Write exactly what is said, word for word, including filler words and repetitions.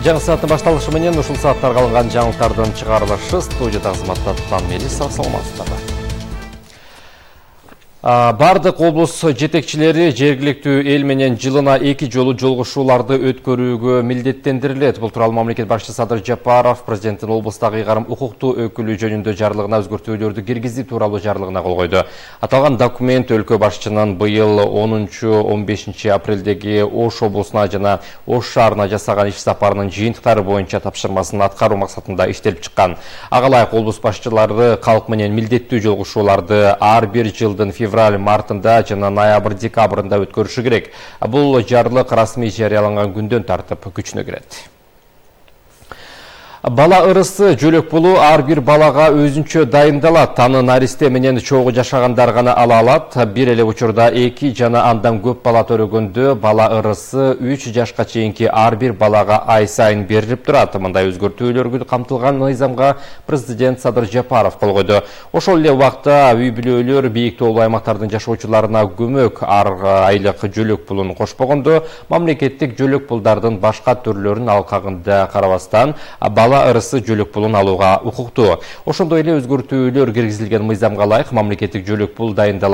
Жаңы сааттын башталышы менен ушул сааттарга алынган жаңылыктардын чыгарылышы студияда кызматта Туттан Мелис, саламатсыздарбы. Бардык облус жетекчилери жергиликтүү эл менен жылына эки жолу жолугушууларды өткөрүүгө милдеттендирилет. Бул тууралуу мамлекет башчысы Садыр Жапаров президенттин облустагы ыйгарым укуктуу өкүлү жөнүндө жарлыгына өзгөртүүлөрдү киргизүү тууралуу жарлыгына кол койду. Аталган документ өлкө башчынын быйыл онунчу он бешинчи апрелдеги Ош облусуна жана Ош шаарына жасаган иш сапарынын жыйынтыктары боюнча тапшырмасын аткаруу максатында иштелип чыккан. Ага ылайык облус башчылары калк менен милдеттүү жолугушууларды ар бир жылдын февраль мартында жана ноябрь декабрында өткөрүшү керек. Бул жарлык расмий жарыяланган күндөн тартып күчүнө кирет. Бала ырысы жөлөк пулу ар бир балага өзүнчө дайындалат. Аны наристе менен чогуу жашагандар гана ала алат. Бир эле учурда эки жана андан көп бала төрөгөндө бала ырысы үч жашка чейинки ар бир балага ай сайын берилип турат. Мындай өзгөртүүлөргө камтылган мыйзамга президент Садыр Жапаров кол койду. Ошол эле убакта үй бүлөлөр бийик тоолуу аймактардын жашоочуларына көмөк ар айлык жөлөк пулун кошпогондо, мамлекеттик жөлөк пулдардын башка түрлөрүн алкагында карабастан бала ырысы жөлөк пулун алууга укуктуу. Ошондой эле өзгөртүүлөр киргизилген мыйзамга ылайык мамлекеттик жөлөк пул дайындалат.